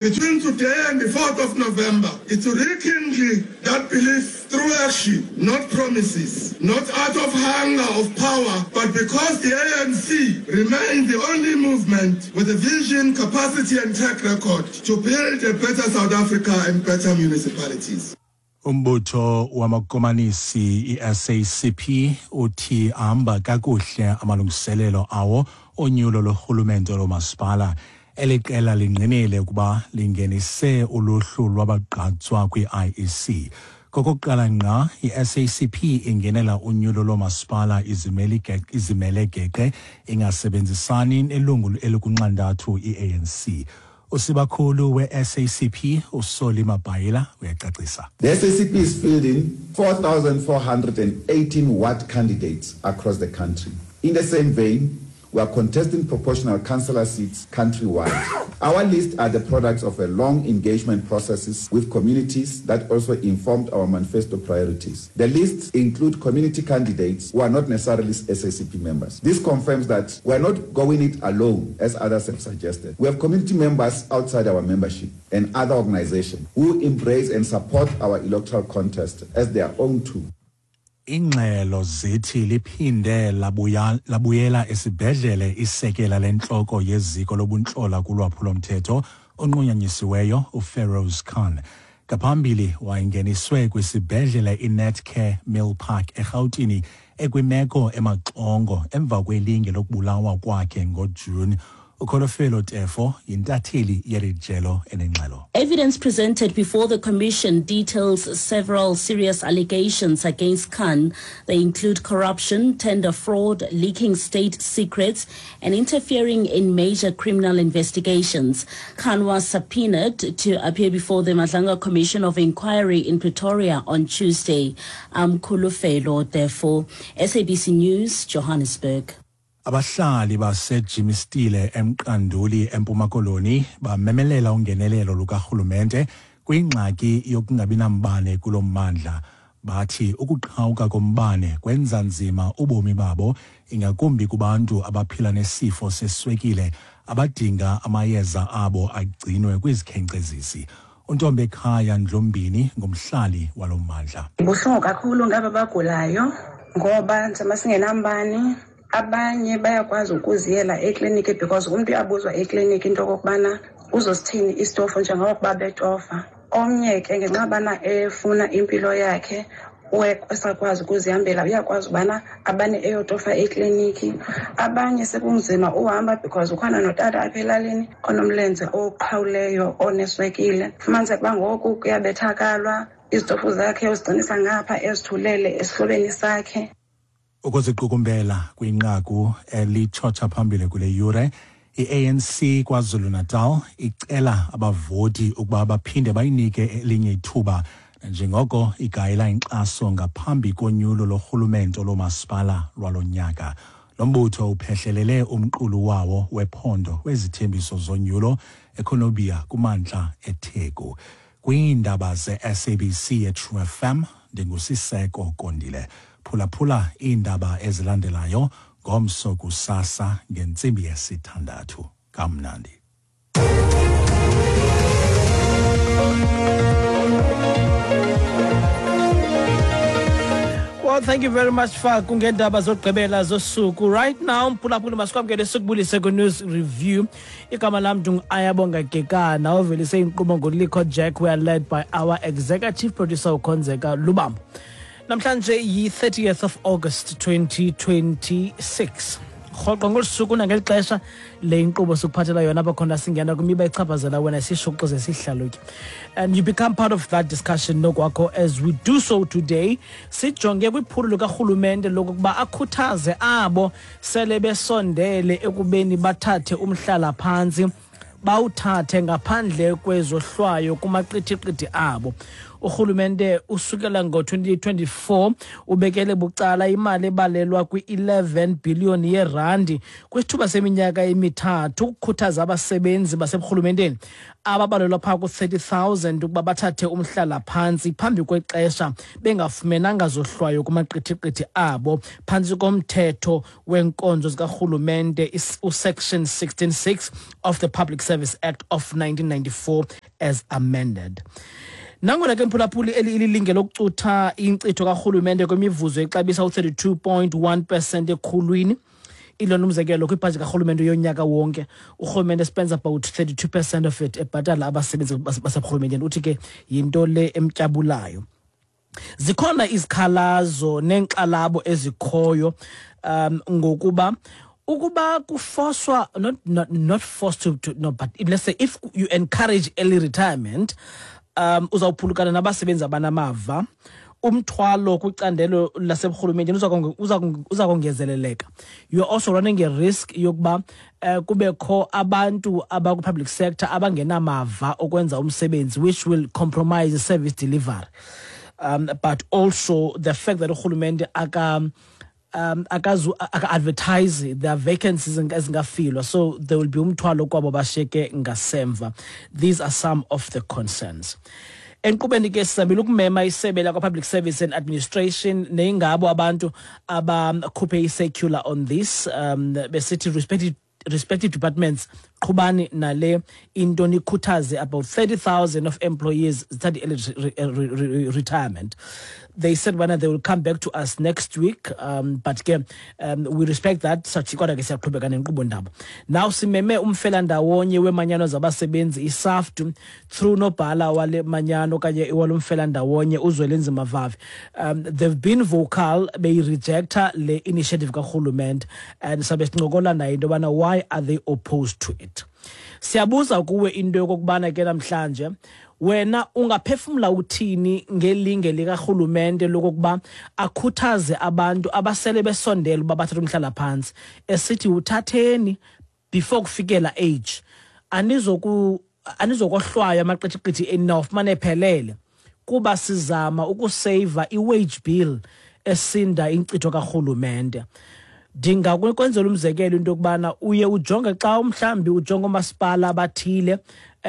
Between today and the 4th of November is to rekindle that belief through action, not promises, not out of hunger of power, but because the ANC remains the only movement with a vision, capacity and track record to build a better South Africa and better municipalities. Umbutho wamakomanisi iSACP uthi ahamba kakuhle amalungiselelo awo onyulo lorhulumente lomasipala. Eli qela lingqinile ukuba lingenise uluhlu lwabagqatswa kwi-IEC. Kokokuqala ngqa i-SACP ingenela unyulo loomasipala izimele geqe ingasebenzisani nelungu elikunxantathu i-ANC. Usibakhulu we-SACP uSolly Mapaila uyacacisa. The SACP is fielding 4,418 ward candidates across the country. In the same vein, we are contesting proportional councillor seats countrywide. Our lists are the products of a long engagement processes with communities that also informed our manifesto priorities. The lists include community candidates who are not necessarily SACP members. This confirms that we are not going it alone, as others have suggested. We have community members outside our membership and other organizations who embrace and support our electoral contest as their own too. Ingxelo zithi liphinde labuya, labuyela esibhedlele isekela lentloko yeziko lobuntlola kulwaphulomthetho onqunyanyisiweyo uFeroz Khan. Ngaphambili wayengeniswe kwisibhedlele iNetcare Mill Park eRhawutini ekwimeko emaxongo emva kwelinge lokubulawa kwakhe ngoJuni. Ukholofelo Tefo yintatheli yeli jelo enengxelo. Evidence presented before the commission details several serious allegations against Khan. They include corruption, tender fraud, leaking state secrets, and interfering in major criminal investigations. Khan was subpoenaed to appear before the Madlanga Commission of Inquiry in Pretoria on Tuesday. I'm Kulufelo, therefore, SABC News, Johannesburg. Abahlali baseJimistile eMqanduli eMpuma Koloni bamemelela ungenelelo lukarhulumente kwingxaki yokungabi nambane kulo mmandla. Bathi ukuqhawuka kombane kwenza nzima ubomi babo ingakumbi kubantu abaphila nesifo seswekile abadinga amayeza abo agcinwe kwizikhenkcezisi. Untombekhaya Ndlombini ngumhlali walo mmandla. Ibuhlungu kakhulu ngaba bagulayo ngoba njengoba singenambane abanye bayakwazi ukuziyela ekliniki because umntu uyabuzwa ekliniki into okokubana uzosithini isitofu njengokuba betofa. Omnye ke ngenxa yobana efuna impilo yakhe esakwazi ukuzihambela uyakwazi ubana abane eyotofa ekliniki. Abanye sekunzima uhamba because ukhona notata apha elalini onomlenze oqhawuleyo oneswekile. Fumaniseke uba ngoku kuyabethakalwa izitofu zakhe uzigcinisa ngapha ezithulele esihlobeni sakhe. Ukuziqukumbela kwinqaku elitshotsha phambili kule yure, i-ANC KwaZulu-Natal icela abavoti ukuba baphinde bayinike elinye ithuba njengoko igayela inkxaso ngaphambi konyulo lorhulumento loomasipala lwalo nyaka. Lo mbutho uphehlelele umqulu wawo wephondo wezithembiso zonyulo eCornubia kumantla eTheku. Kwiindaba ze-SABC eTrue FM ndinguSiseko Kondile. Phulaphula iindaba ezilandelayo ngomso kusasa ngentsimbi yesithandathu. Kamnandi. Well, thank you very much Faku ngeendaba zokugqibela zosuku. Right now, mphulaphuli masikwamkele sikubulise kwi-news review. Igama lam ndingu-Ayabonga Gekana ovelise inkqubo nguLikho Jack. We are led by our executive producer uKhonzeka Lubambo. Namhlanje yi-30th of August 2026. Rhoqo ngolu suku nangeli xesha le inkqubo sikuphathela yona apha khona singena kwimiba echaphazela wena sishukuxe sihlalutye. And you become part of that discussion nokwakho as we do so today. Sijonge kwiphulo likarhulumente lokokuba akhuthaze abo sele besondele ekubeni bathathe umhlala phantsi bawuthathe ngaphandle kwezohlwayo kumaqithiqithi abo. Urhulumente usukela ngo-2024 ubekele bucala imali ebalelwa kwi-11 billion yerandi kwisithuba seminyaka emithathu ukukhuthaza abasebenzi baseburhulumenteni ababalelwa phaa ku-30 000 ukuba bathathe umhlala-phantsi phambi kwexesha bengafumenanga zohlwayo kumaqithiqithi abo phantsi komthetho weenkonzo zikarhulumente, uSection 16(6) of the Public Service Act of 1994 as amended. Nangona ke, mphulaphuli, eli ililinge lokucutha inkcitho karhulumente kwimivuzo exabisa u-32.1% ekhulwini, ilona umzekelo kwibhajethi karhulumente yonyaka wonke, urhulumente spends about 32% of it ebhatala abasebenzi baseburhulumenteni. Uthi ke yinto le emtyabulayo. Zikhona izikhalazo neenkxalabo ezikhoyo ngokuba ukuba kufoswa, not forced to no, but if, let's say if you encourage early retirement, uzawuphulukana nabasebenzi abanamava, umthwalo kwicandelo laseburhulumenteni uza kongezeleleka. You are also running a risk yokuba kubekho abantu abakwi-public sector abangenamava okwenza umsebenzi, which will compromise service delivery, but also the fact that urhulumente aka akazu aka-advertise their vacancies ezingafilwa, so there will be umthwalo kwabo bashiyeke ngasemva. These are some of the concerns. Enkqubeni ke, sizamile ukumema isebe lakwa-Public Service and Administration, neyingabo abantu abakhuphe i-circular on this, besithi respective departments, qhubani nale into, nikhuthaze about 30,000 of employees zithathe early retirement. They said bana they will come back to us next week, but ke we respect that, sathi kodwa ke siyaqhubeka nenkqubo ndaba. Now simeme umfelandawonye wemanyano zabasebenzi iSAFTU through nobhala wale manyano okanye walo mfelandawonye, uZwelinzima Vavi. They've been vocal beyirejecta le initiative karhulumente, and sabe sincokola naye into yobana why are they opposed to it. Siyabuza kuwe into yokokubana ke namhlanje wena ungaphefumla uthini ngelinge likarhulumente lokokuba akhuthaze abantu abasele besondele uba bathathe umhlala-phantsi, esithi uthatheni before kufikela age, anizokohlwaywa, amaqithiqithi enawufumane ephelele, kuba sizama ukuseyiva i-wage bill esinda inkcitho karhulumente. Ndingakwenzela umzekelo into yokubana uye ujonge xa mhlawumbi ujonge oomasipala abathile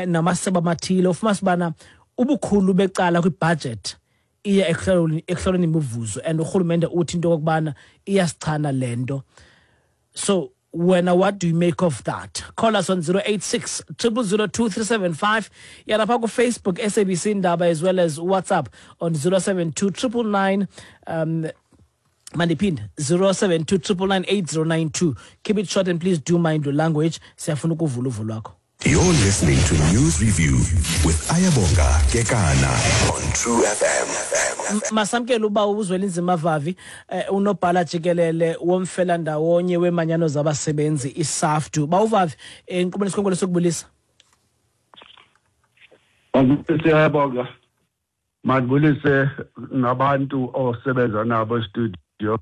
namasebe amathile, ufumanise ubana ubukhulu becala kwibhajethi iya ekuhlawuleni imivuzo, and urhulumente uthi into yokokubana iyasichana le nto. So wena, what do you make of that? Call us on 086 0002375, yalapha kuFacebook SABC Indaba, as well as WhatsApp on 072 999, mandiphinde, 072 999 8092. Keep it short and please do mind your language. Siyafuna ukuvula uvo lwakho. You're listening to News Review with Ayabonga Kekana on True FM. Masamkele uba uZwelinzima Vavi, unobhala jikelele womfelandawonye wemanyano zabasebenzi iSAFTU. Bawuvavi, enkqubeni sikhonkolo sokubulisa. Siyabonga. Mandibulise nabantu osebenza nabo e-studio.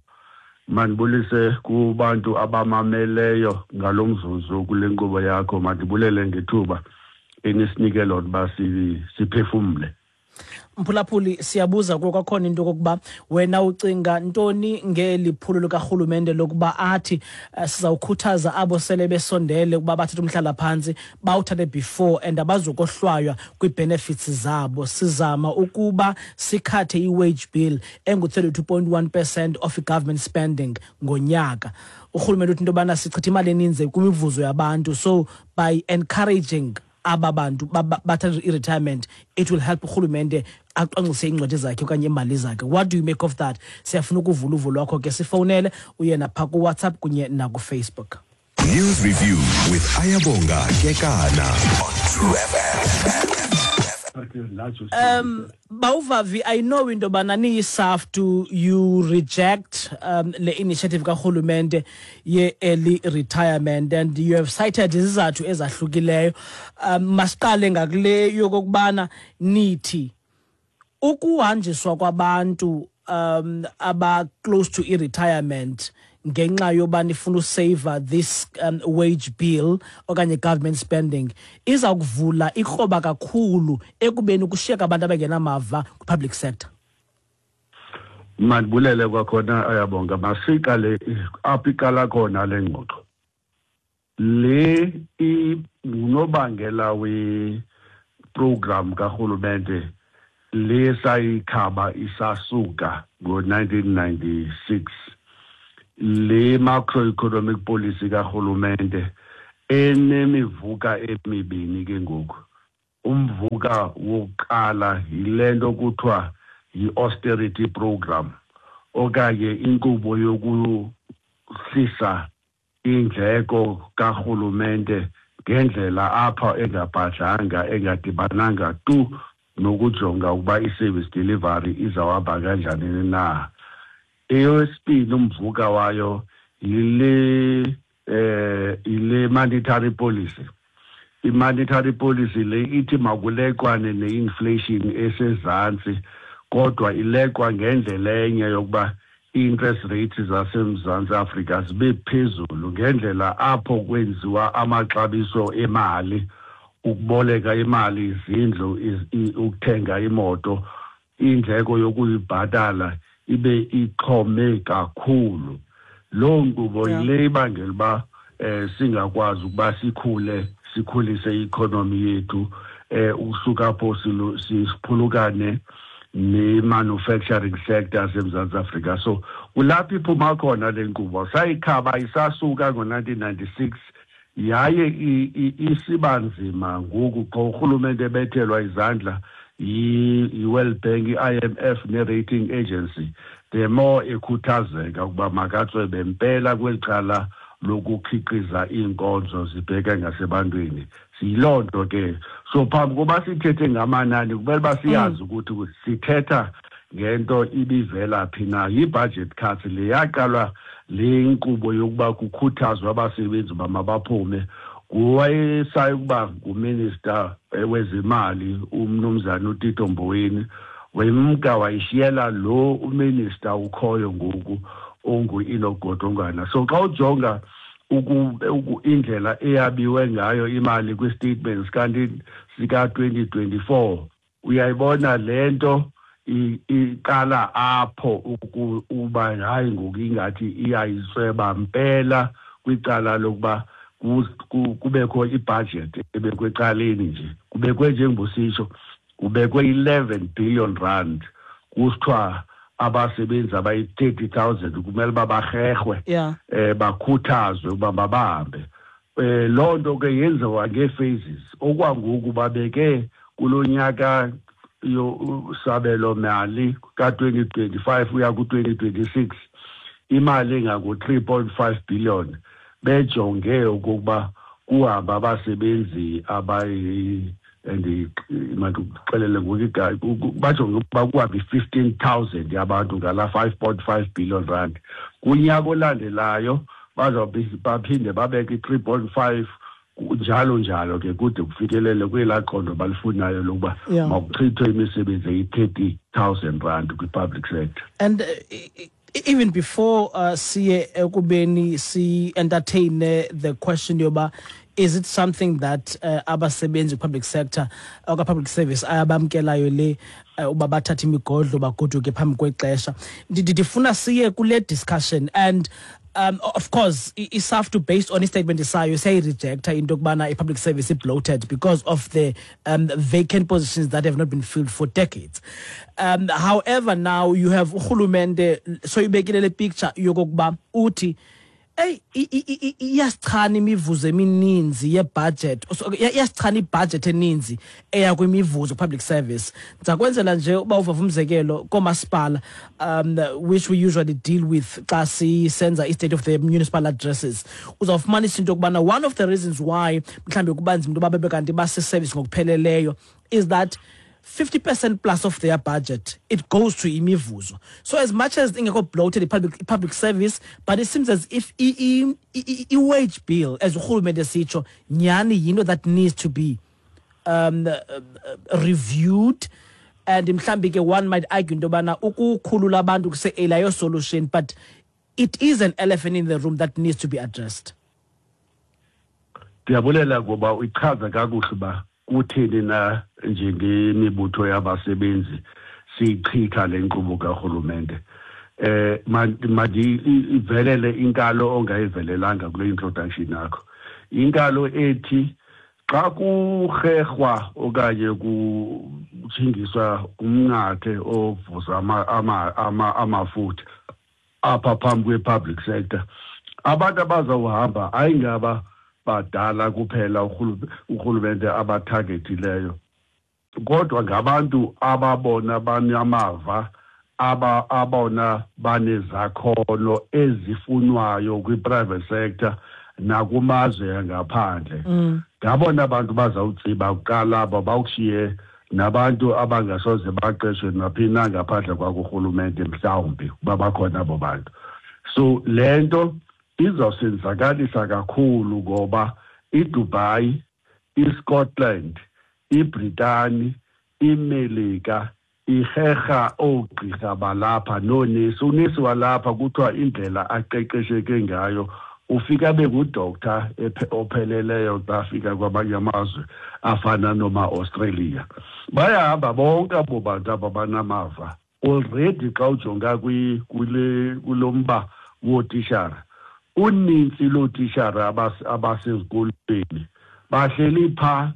Mandibulise kubantu abamameleyo ngalo mzuzu kule nkqubo yakho. Mandibulele ngethuba enisinike lona uba siphefumle. Mphulaphuli, siyabuza kuwo kwakhona into yokokuba wena ucinga ntoni ngeli phulo likarhulumente lokuba athi sizawukhuthaza abo sele besondele ukuba bathathe umhlala-phantsi, bawuthathe before and abazukohlwaywa kwii-benefits zabo, sizama ukuba sikhathe i-wage bill engu-32.1% of i-government spending ngonyaka. Urhulumente uthi into yobana sichitha imali eninzi kwimivuzo yabantu, so by encouraging aba bantu bathathe i-retirement, it will help urhulumente acwangcise iincwadi zakhe okanye iimali zakhe. What do you make of that? Siyafuna ukuvula uvo lwakho ke, sifowunele, uye napha kuWhatsApp kunye nakuFacebook. News Review with Ayabonga Kekana on True FM. Bawuvavi, I know into yobana niyiSAFTU you reject le initiative karhulumente ye-early retirement, and you have cited izizathu ezahlukileyo. Masiqale ngakule yokokubana nithi ukuhanjiswa kwabantu aba close to i-retirement ngenxa yoba nifuna usave this wage bill okanye government spending iza kuvula ikroba kakhulu ekubeni kushiyeka abantu abangenamava kwi-public sector. Mandibulele kwakhona, Ayabonga. Masiqale apho iqala khona le ngxoxo. Le ngunobangela we-program karhulumente le sayikhaba isasuka ngo-1996, le macroeconomic policy karhulumente enemivuka emibini. Ke ngoku umvuka wokuqala yile nto kuthiwa yi-austerity program okanye inkqubo yokuhlisa indleko karhulumente ngendlela apha engabhadlanga, engadibananga tu nokujonga ukuba i-service delivery izawuhamba kanjani na. Eyesibini umvuka wayo yile monetary policy. I-monetary policy le ithi makuleqwane ne-inflation esezantsi, kodwa ileqwa ngendlela enye yokuba i-interest rates zaseMzantsi Afrika zibe phezulu ngendlela apho kwenziwa amaxabiso emali, ukuboleka imali, izindlu, ukuthenga imoto, indleko yokuyibhatala ibe ixhome kakhulu. Loo nkqubo yile ibangela uba singakwazi ukuba sikhule, sikhulise i-economy yethu, ukusuka apho siphulukane ne-manufacturing sector yaseMzantsi Afrika. So kulapho iphuma khona le nkqubo. Sayikhaba isasuka ngo-1996, yaye isiba nzima ngoku xa urhulumente ebethelwa izandla yi-World Bank, i-IMF ne-rating agency, the more ekhuthazeka ukuba makatswebe mpela kweli cala lokukhiqiza iinkonzo zibheke ngasebantwini. Siyiloo nto ke. So phambi koba sithethe ngamanani, kumele uba siyazi ukuthi sithetha ngento ibivela phi na. Yi-budget cuts le yaqalwa le nkqubo yokuba kukhuthazwe abasebenzi uba mabaphume nguwayesayi ukuba nguminister wezimali, umnumzana uTito Mboweni. Wemka wayishiyela lo uminister ukhoyo ngoku ongu-Enoch Godongwana. So xa ujonga indlela eyabiwe ngayo imali kwi-statement sika-2024, uyayibona le nto iqala apho uba hayi, ngoku ingathi iyayisweba mpela kwicala lokuba kubekho ibudget ebekwe ecaleni nje, kubekwe njengobusitsho, kubekwe R11 billion, kusithiwa abasebenzi abayi-30 000 kumele uba barherhwe, bakhuthazwe ukuba mabahambe. Loo nto ke yenziwa ngee-phases. Okwangoku babeke kulo nyaka sabelo mali ka-2025 uya ku-2026 imali engango-3.5 billion, bejonge okokuba kuhamba abasebenzi abayi, mandikuxelele ngoku, bajonge ukuba kuhambe i-15 000 yabantu ngala R5.5 billion. Kunyaka olandelayo bazawube baphinde babeke i-3.5, njalo njalo ke, kude kufikelele kwelaa qondo balifunayo lokuba makuchithwe imisebenzi eyi-R30 000 kwi-public sector. And even before siye ekubeni si-entertain the question yoba is it something that abasebenzi public sector oka public service ayabamkelayo le uba bathathe imigodlo bagoduke phambi kwexesha, ndifuna siye kule discussion. And of course iSAFTU, based on istatement sayo, siyayirejecta into yokubana i-public service bloated because of the vacant positions that have not been filled for decades. However, now you have urhulumente soyibekile le picture yokokuba uthi eyi, iyasichana imivuzo emininzi yebudget. So, iyasichana ibudget eninzi eya kwimivuzo public service. Ndiza kwenzela nje uba uvava umzekelo koomasipala, which we usually deal with xa sisenza i-state of the municipal addresses, uzawufumanisa into yokubana one of the reasons why mhlawumbi kuba nzima into yoba bebe kanti base-service ngokupheleleyo is that 50% plus of their budget, it goes to imivuzo. So as much as ingekho bloated i-public service, but it seems as if i-wage bill, as urhulumente sitsho, nyhani yinto that needs to be reviewed. And mhlawumbi ke one might argue into yobana ukukhulula abantu kuse-early ayo solution, but It is an elephant in the room that needs to be addressed. Ndiyabulela ngoba uyichaza kakuhle uba kutheni na njengemibutho yabasebenzi siyichitha le nkqubo karhulumente. Mandivelele inkalo ongayivelelanga kule introduction yakho, inkalo ethi xa kurherhwa okanye kuthingiswa umnqathe ovuza amafutha apha phambi kwe-public sector, abantu abazawuhamba ayingaba badala kuphela urhulumente abathagethileyo, kodwa ngabantu ababona banamava, abona banezakhono ezifunwayo kwi-private sector nakumazwe angaphandle. Ngabona abantu bazawutsiba kuqala aba, bawushiye nabantu abangasoze baqeshwe naphi na ngaphandle kwakurhulumente, mhlawumbi uba bakhona abo bantu. So le nto izawusenzakalisa kakhulu ngoba iDubai, iScotland, iBritani, iMelika iherha oogqirha balapha noonesi. Unesi walapha kuthiwa indlela aqeqesheke ngayo ufika abe ngudoctor opheleleyo xa afika kwamanye amazwe afana noma-Australia. Bayahamba bonke abo bantu aba banamava already. Xa ujonga kulo mba wootishara, unintsi lootishara abasezikolweni bahleli phaa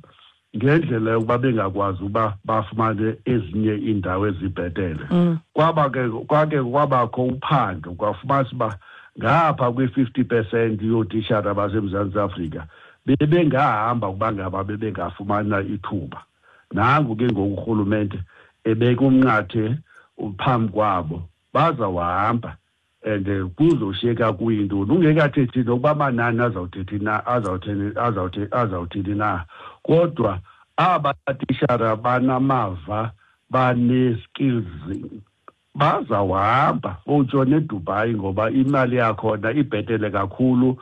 ngendlela yokuba bengakwazi uba bafumane ezinye iindawo ezibhetele. Kwaba ke kwake kwabakho uphando, kwafumanisa uba ngapha kwi-50% yootishara baseMzantsi Afrika bebengahamba ukuba ngaba bebengafumana ithuba. Nangu ke ngoku urhulumente ebeka umnqathe phambi kwabo, bazawuhamba and kuzoshiyeka kuyintoni, ungekathethi nokuba amanani azawuthethi na, azawuthini na. Kodwa aba tishara banamava, bane-skills, bazawuhamba botshona eDubai ngoba imali yakhona ibhetele kakhulu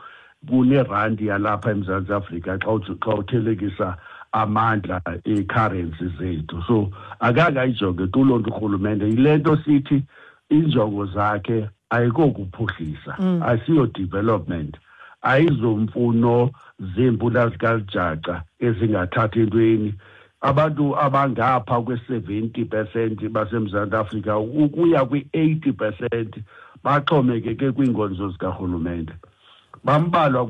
kunerandi yalapha eMzantsi Afrika xa uthelekisa amandla ee-currency zethu. So akakayijonge tu loo nto urhulumente. Yile nto sithi iinjongo zakhe ayikokuphuhlisa, asiyo development, ayizomfuno zeempula zikalijaca ezingathathi entweni. Abantu abangapha kwe-70% baseMzantsi Afrika ukuya kwi-80% baxhomekeke kwiinkonzo zikarhulumente. Bambalwa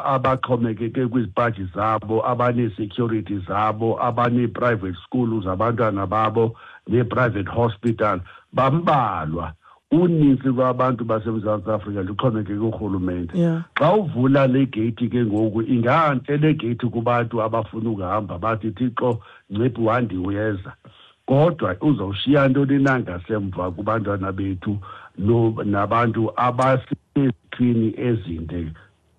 abaxhomekeke kwizipaji zabo, abanee-security zabo, abanee-private school zabantwana babo, nee-private hospital, bambalwa. Unintsi lwabantu baseMzantsi Afrika luxhomekeke kurhulumente. Xa uvula le geyithi ke ngoku, ingantle le geyithi kubantu abafuna ukuhamba, bathi Thixo nciphi wandi uyeza, kodwa uzawushiya ntoni na ngasemva kubantwana bethu nabantu abasezikrini ezinde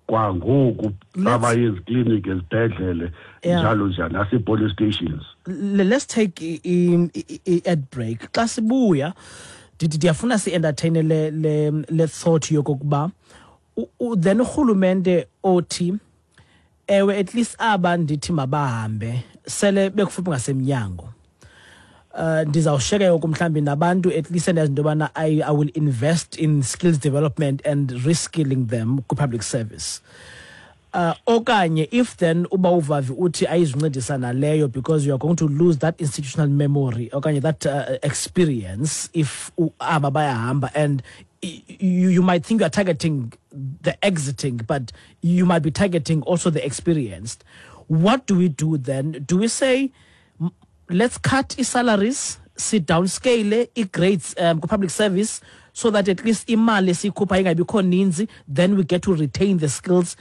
kwangoku, abaye ezikliniki, ezibhedlele, njalo njalo, nasee-police stations? Let's take i-ad break. Xa sibuya, ndiyafuna si-entertaine le thought yokokuba then urhulumente othi ewe, at least aba ndithi mabahambe sele bekufuphi ngasemnyango, ndizawushiyeka yoku mhlawumbi nabantu at least endazi into yobana I will invest in skills development and reskilling them kwi-public service. Okanye if then uba uVavi uthi ayizuncedisa naleyo because you are going to lose that institutional memory okanye that experience if aba bayahamba, and you might think you are targeting the exiting, but you might be targeting also the experienced. What do we do then? Do we say let's cut i-salaries, sit downscale i-grades public service so that at least imali esiyikhupha ingabikho ninzi, then we get to retain the skills?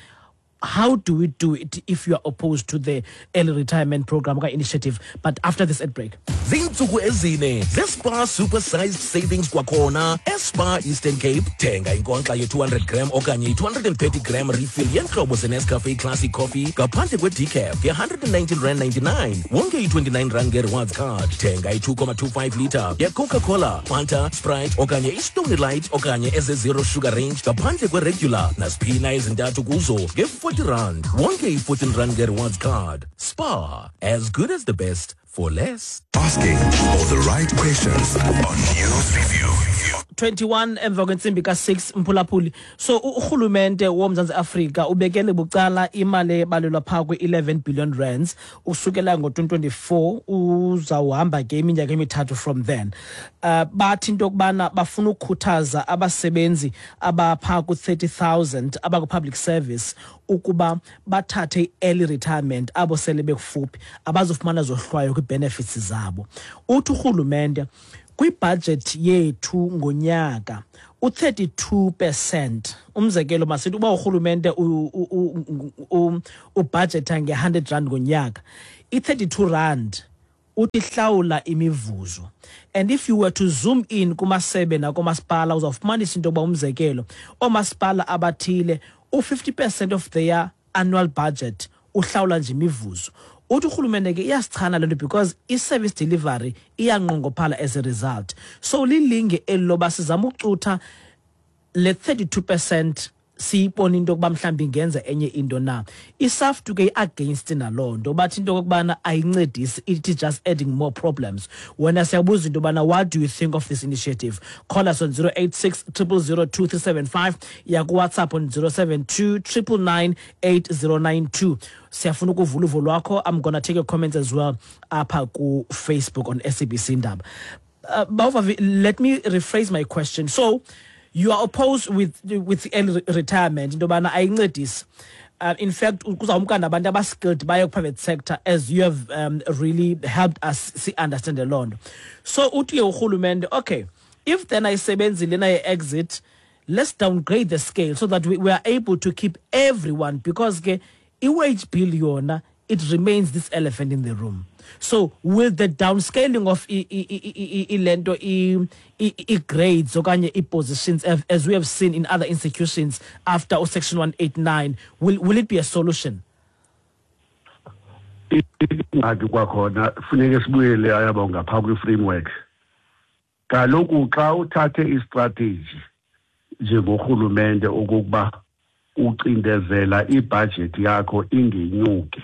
How do we do it if you are opposed to the early retirement program initiative? But after this ad break. Ziintsuku ezine zeSpar Super Sized Savings kwakhona eSpar Eastern Cape. Thenga inkonkxa ye-200 gram okanye i-230 gram refill yeentlobo zeNescafe Classic Coffee ngaphandle kwe-decaf nge-119 rand 99, wonke i-29 rand nge-rewards card. Thenga i-2.25 litre ye-Coca-Cola, Fanta, Sprite okanye iStony Light okanye eze-zero sugar range ngaphandle kwe-regular naziphina ezintathu kuzo nge-40 rand, wonke i-14 rand nge-rewards card. Spar, as good as the best for less. Asking all the right questions on News Review. 21 emva kwentsimbi ka-6, mphulaphuli. So urhulumente woMzantsi Afrika ubekele bucala imali ebalelwa phaa kwi-11 billion rands usukela ngo-2024, uzawuhamba ke iminyaka emithathu from then. Bathi into yokubana bafuna ukukhuthaza abasebenzi abaphaa ku-30 000 abakwi-public service ukuba bathathe i-early retirement, abo sele bekufuphi abazofumana zohlwayo kwii-benefits zabo. Uthi urhulumente kwibhajethi yethu ngonyaka u-32%, umzekelo masithi uba urhulumente ubhajetha nge-100 rand ngonyaka, i-32 rand uthi hlawula imivuzo. And if you were to zoom in kumasebe nakomasipala, uzawufumanisa into yokuba, umzekelo, oomasipala abathile u-50% of their annual budget uhlawula nje imivuzo. Uthi urhulumente ke iyasichana le nto because i-service delivery iyanqongophala as a result. So lilinge eli loba sizama ukucutha le 32%, siyibona into yokuba mhlawumbi ingenza enye into na. ISAFTU ke i-against naloo nto, bathi into yokokubana ayincedisi, it is just adding more problems. Wena siyabuza into yobana what do you think of this initiative? Call us on 086 000 2375, yakuWhatsApp on 072 999 8092. Siyafuna ukuvula uvo lwakho. I'm gonna take your comments as well apha kuFacebook on SABC Indaba. Bawuvavi, let me rephrase my question. So you are opposed with early retirement, into yobana ayincedisi. In fact, kuzawumka nabantu abaskilled baye private sector, as you have really helped us see understand loo nto. So uthi ke urhulumente, okay, if then ayisebenzi lena ye-exit, let's downgrade the scale so that we are able to keep everyone, because ke i-wage bill yona, it remains this elephant in the room. So will the downscaling of ilento i-grades okanye i-positions, as we have seen in other institutions after section 189, will it be a solution? Ingxaki kwakhona funeke sibuyele, Ayabonga, phaa kwi-framework. Kaloku xa uthathe istrategy njengorhulumente okokuba ucindezela ibhajethi yakho ingenyuki,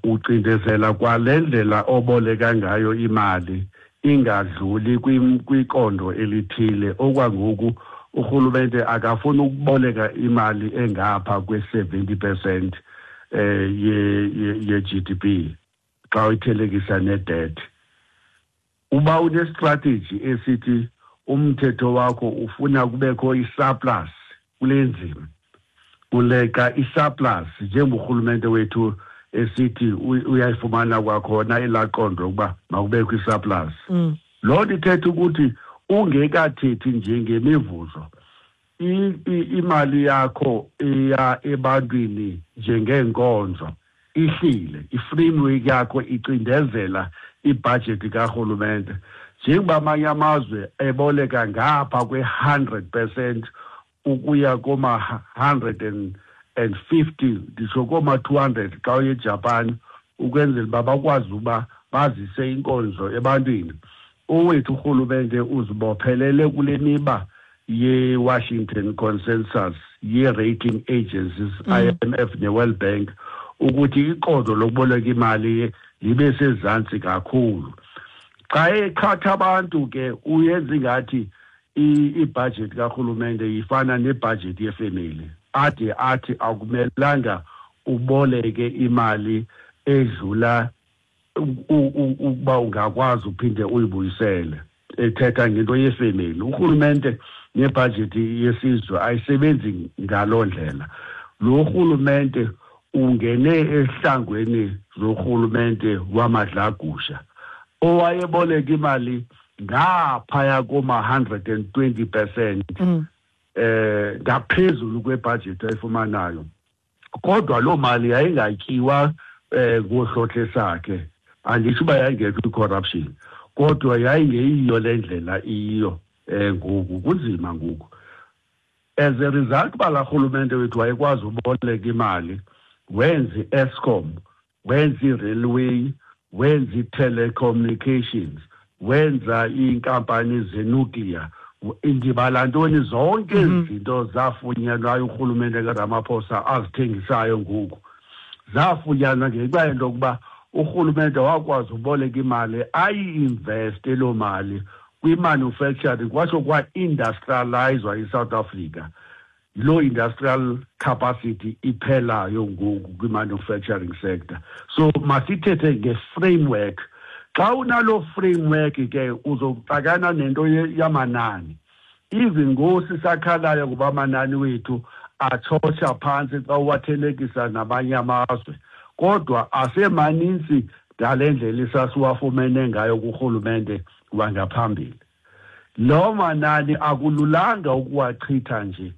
ucindezela kwalendlela oboleka ngayo imali ingadluli kwikondo elithile. Okwangoku urhulumente akafuni ukuboleka imali engapha kwe-70% ye-GDP xa uyithelekisa ne-debt. Uba une-strategy esithi umthetho wakho ufuna kubekho i-surplus kule nzima, uleka i-surplus, njengorhulumente wethu esithi uyayifumana kwakhona elaqondo ukuba makubekho i-surplus, loo nto ithetha ukuthi ungekathethi nje ngemivuzo, imali yakho eya ebantwini njengeenkonzo ihlile. I-framework yakho icindezela ibhajethi karhulumente, njengoba amanye amazwe eboleka ngapha kwe-100% ukuya koma-150, nditsho koma-200 xa uye eJapan, ukwenzela uba bakwazi uba bazise inkonzo ebantwini. Owethu urhulumente uzibophelele kule miba ye-Washington Consensus ye-rating agencies, IMF ne-World Bank, ukuthi iqondo lokuboleka imali libe sezantsi kakhulu. Xa eqhatha abantu ke uyenza ingathi ibhajethi karhulumente ifana nebhajethi yefemeli, ade athi akumelanga uboleke imali edlula ukuba ungakwazi uphinde uyibuyisele, ethetha ngento yefemeli. Urhulumente nebhajethi yesizwe ayisebenzi ngaloo ndlela. Lo rhulumente ungene ehlangweni zorhulumente wamadlagusha owayeboleka imali ngaphaya koma-120% ngaphezulu kwebhajethi ayifumanayo, kodwa loo mali yayingatyiwa ngohlohle sakhe. Anditsho uba yayingekho i-corruption, kodwa yayingeyiyo le ndlela iyiyo ngoku. Kunzima ngoku as a result uba laa rhulumente wethu wayekwazi uboleka imali, wenza i-Eskom, wenza i-railway, wenza i-telecommunications, wenza iinkampani zenuclear, ndibala ntoni, zonke ezi zinto zafunyanwayo urhulumente kaRamaphosa azithengisayo ngoku, zafunyanwa ngenxa yento yokuba urhulumente wakwazi uboleka imali, ayi-investe loo mali. Kwi-manufacturing kwatsho kwa-industrializwa iSouth Africa. Yiloo industrial capacity iphelayo ngoku kwi-manufacturing sector. So masithethe nge-framework. Xa unaloo framework ke, uzoxakana nento yamanani. Even ngoku sisakhalayo ngoba amanani wethu atshotsha phantsi xa uwathelekisa namanye amazwe, kodwa asemanintsi ngale ndlela isasiwafumene ngayo kurhulumente wangaphambili. Loo manani akululanga ukuwachitha nje.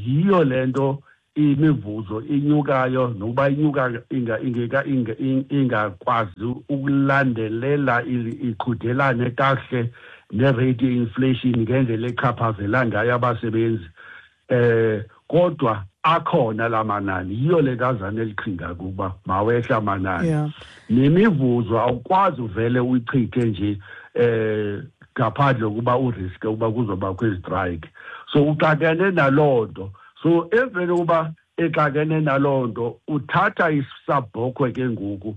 Yiyo lento imivuzo inyukayo, nokuba inyuka ingeka ingakwazi ukulandelela, iqhudelane kakuhle ne-rate ye-inflation ngendlela echaphazela ngayo abasebenzi, kodwa akhona la manani. Yiyo le nto azana eliqhinga kuba mawehla amanani. Nemivuzo awukwazi uvele uyichithe nje ngaphandle kokuba uriske ukuba kuzobakho izitrayiki. So uxakene naloo nto. So emveni kokuba exakene naloo nto, uthatha isabhokhwe ke ngoku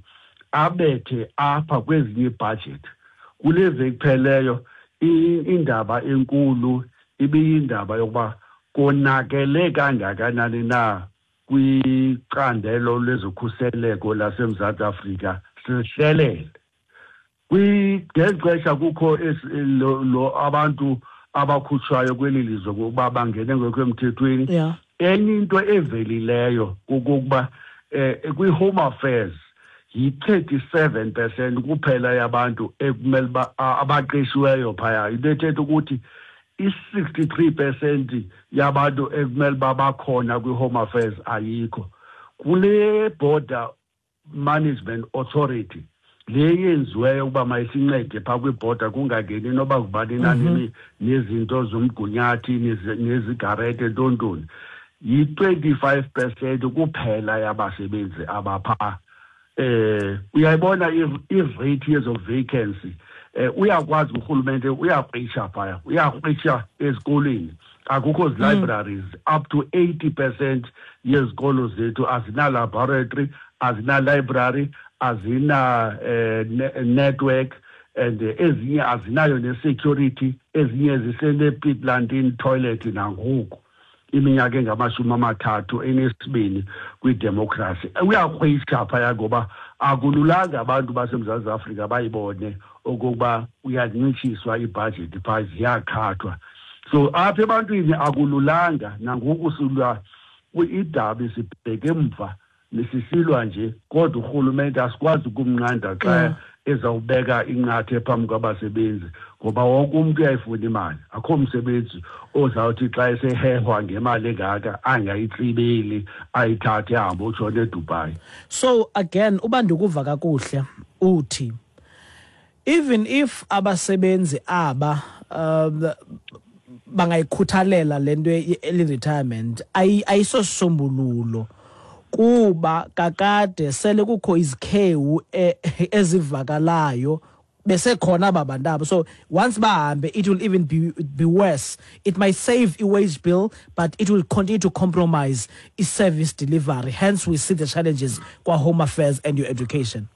abethe apha kwezinye iibhajethi. Kule veki pheleyo indaba enkulu ibiyindaba yokuba konakele kangakanani na kwicandelo lezokhuseleko laseMzantsi Afrika sihlelele. Ngeli xesha kukho lo abantu abakhutshwayo kweli lizwe ngokuba bangene ngekho emthethweni. Enye into evelileyo kukuba kwi-Home Affairs yi-37% kuphela yabantu ekumele uba abaqeshiweyo phaya. Into ethetha ukuthi i-63% yabantu ekumele uba bakhona kwi-Home Affairs ayikho. Kule Border Management Authority le yenziweyo ukuba mayisincede phaa kwibhoda kungangeni noba ngubani na nezinto zomgunyathi nezigarete ntontoni, yi-25% kuphela yabasebenzi abaphaa. Uyayibona i-rate yezo vacancy. Uyakwazi urhulumente uyakritsha phaya, uyakritsha ezikolweni, akukho zi-libraries. Up to 80% yezikolo zethu azina-laboratory, azina-library, azina network and ezinye azinayo ne-security, ezinye zisene-pit latrine toilet nangoku iminyaka engamashumi 32 kwidemokhrasi. Uyakrwitsha phaya ngoba akululanga abantu baseMzantsi Afrika bayibone okokuba uyancitshiswa ibhajethi phaa, ziyakhathwa. So apha ebantwini akululanga nangoku, silwa idabi sibheke emva, nisisilwa nje, kodwa urhulumente asikwazi ukumnqanda xa ezawubeka inqathe phambi kwabasebenzi, ngoba wonke umntu uyayifuna imali. Akho msebenzi ozawuthi xa esehehwa ngemali engaka angayitsibeli, ayithathe ahambe utshona eDubai. So again, uba ndikuva kakuhle, uthi even if abasebenzi aba bangayikhuthalela le nto ye-early retirement, ayisosisombululo kuba kakade sele kukho izikhewu ezivakalayo besekhona aba bantu abo. So once bahambe, it will even be worse. It might save i-wage bill, but it will continue to compromise i-service delivery. Hence we see the challenges kwa-Home Affairs and your education.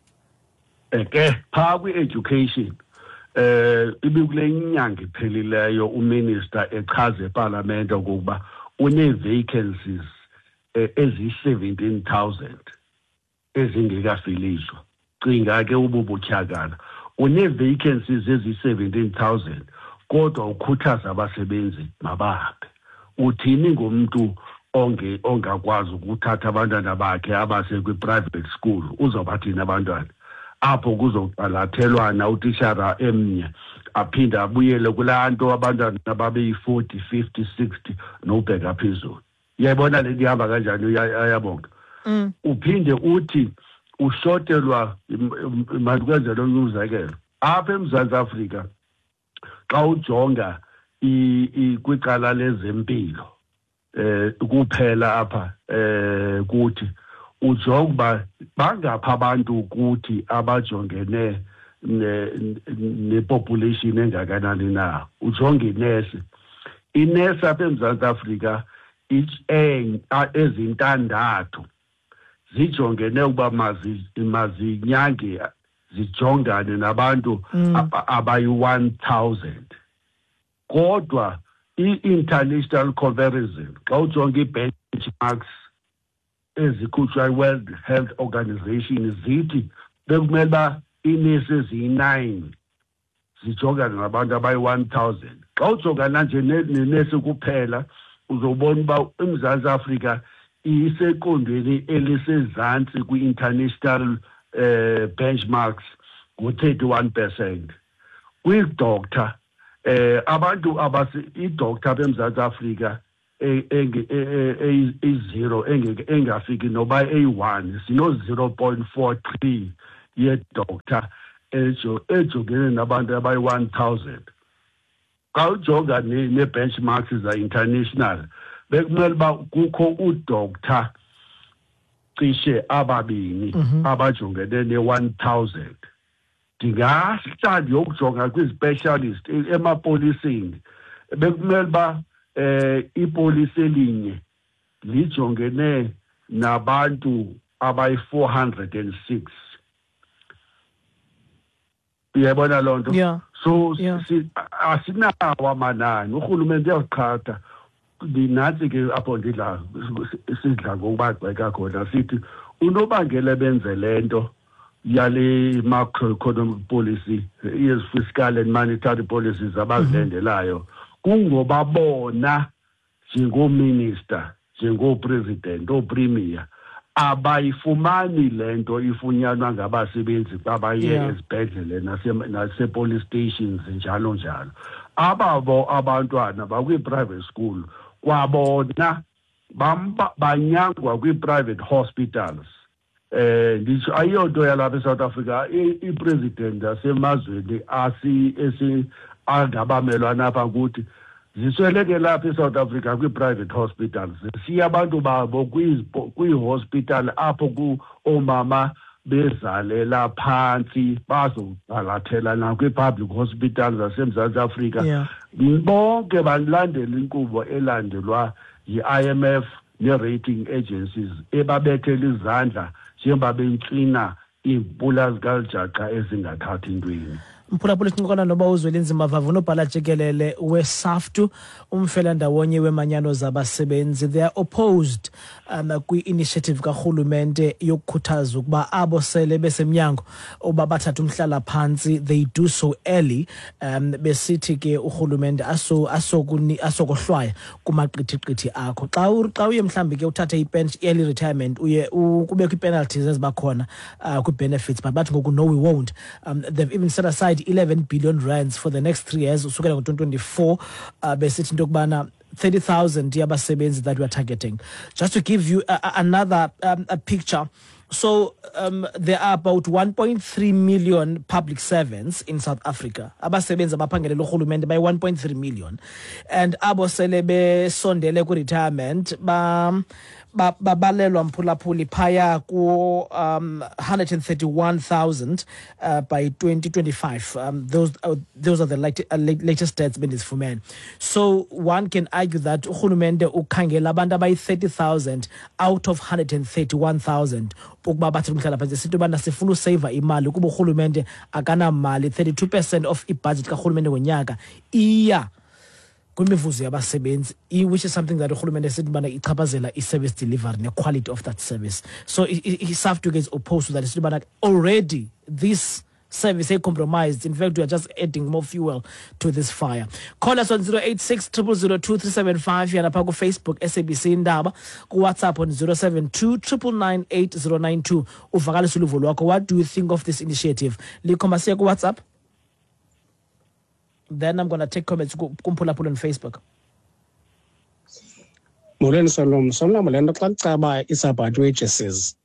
Ke phaa kwi-education, ibikule nyanga iphelileyo uminister echaza epalamente okokuba une-vacancies eziyi-17,000 ezingekafiliswa. Cinga ke ububutyhakala, une-vacancies eziyi-17,000 kodwa ukhuthaza abasebenzi mabahambe. Uthini ngomntu ongakwazi ukuthatha abantwana bakhe abase kwi-private school? Uzawubathini abantwana apho kuzoqalathelwana utishara emnye, aphinde abuyele kulaa nto abantwana babeyi-40, 50, 60 nobheka phezulu? Uyayibona le nto ihamba kanjani? Ayabonga. Uphinde uthi ushotelwa. Mandikwenzele omnye umzekelo. Apha eMzantsi Afrika, xa ujonga kwicala lezempilo kuphela apha kuthi ujonga uba bangapha abantu kuthi abajongene nepopulation engakanani na. Ujonge inesi, inesi apha eMzantsi Afrika ezintandathu zijongene ukuba mazinyange zijongane nabantu abayi-1000. Kodwa i-international comparison, xa ujonga ii-benchmarks ezikhutshwa yi-World Health Organization, zithi bekumele uba iinesi eziyi-9 zijongane nabantu abayi-1000. Xa ujongana nje nenesi kuphela, uzobona uba iMzantsi Afrika iseqondweni elisezantsi kwi-international benchmarks ngo-31%. Kwii-doctor, abantu abasi i-doctor apha eMzantsi Afrika eyi-0, engafiki noba eyi-1, sino-0.43 ye-doctor ejongene nabantu abayi-1000. Xa ujonga nee-benchmarks za-international, bekumele uba kukho u-doctor cishe ababini abajongene ne-1000. Ndingahla ndiyokujonga kwi-specialist emapoliseni, bekumele uba ipolisi elinye lijongene nabantu abayi-406. Uyayibona loo nto? So asinawo amanani, urhulumente uyaziqhatha. Ndinantsi ke apho sidla ngokubagxeka khona, sithi unobangela benze le nto yale macroeconomic policy, yezi fiscal and monetary policies abazilandelayo, kungoba bona njengoominister, njengoopresident, oopremier, abayifumani le nto ifunyanwa ngabasebenzi xa baye ezibhedlele nase-police stations, njalo njalo. Ababo abantwana bakwii-private school, kwabona banyangwa kwii-private hospitals. Nditsho ayiyonto yalapha eSouth Africa, i-president yasemazweni esi angabamelwane apha kuthi zisweleke lapha eSouth Africa kwii-private hospitals. Siya abantu babo kwii-hospital apho oomama bezalela phantsi, bazogalathela nakwii-public hospitals zaseMzantsi Afrika. Bonke balandela inkqubo elandelwa yi-IMF nee-rating agencies ebabethela izandla njengoba bentswina iimpula zikalijaca ezingathathi ntweni. Mphulaphula, sincokola noba uZwelinzima Vavi, unobhala jikelele weSAFTU, umfelandawonye wemanyano zabasebenzi. They are opposed kwi-initiative karhulumente yokukhuthaza ukuba abo sele besemnyango uba bathathe umhlala phantsi, they do so early, besithi ke urhulumente asokohlwaya kumaqithiqithi akho xa uye mhlawumbi ke uthathe i-early retirement, uye kubekho ii-penalties eziba khona kwii-benefits. But bathi ngoku, no, we won't. They've even set aside 11 billion rands for the next 3 years usukela ngo-2024, besithi into yokubana 30,000 yabasebenzi that we are targeting. Just to give you another a picture, so there are about 1.3 million public servants in South Africa. Abasebenzi abaphangelela urhulumente bayi-1.3 million, and abo sele besondele kwi-retirement babalelwa, mphulaphuli, phaya ku 131,000 by 2025. Those are the latest stats bendizifumene. So one can argue that urhulumente ukhangela abantu abayi-30,000 out of 131,000 ukuba bathathe umhlala phantsi. Sithi ubana sifuna useyiva imali kuba urhulumente akanamali. 32% of ibudget karhulumente ngonyaka iya kwimivuzo yabasebenzi, which is something that urhulumente esithi ubana ichaphazela i-service delivery ne-quality of that service. So iSAFTU ke is opposed to that, isithi ubana already this service compromised. In fact, we are just adding more fuel to this fire. Call us on 086 002 375, yana phaa kuFacebook SABC Indaba, kuWhatsApp on 072 999 8092. Uvakalise uluvo lwakho. What do you think of this initiative? Likho, masiye kuWhatsApp, then I'm gonna take comments kumphulaphula on Facebook. Molweni Solomon. Solomon, le nto xa kucaba is about wages.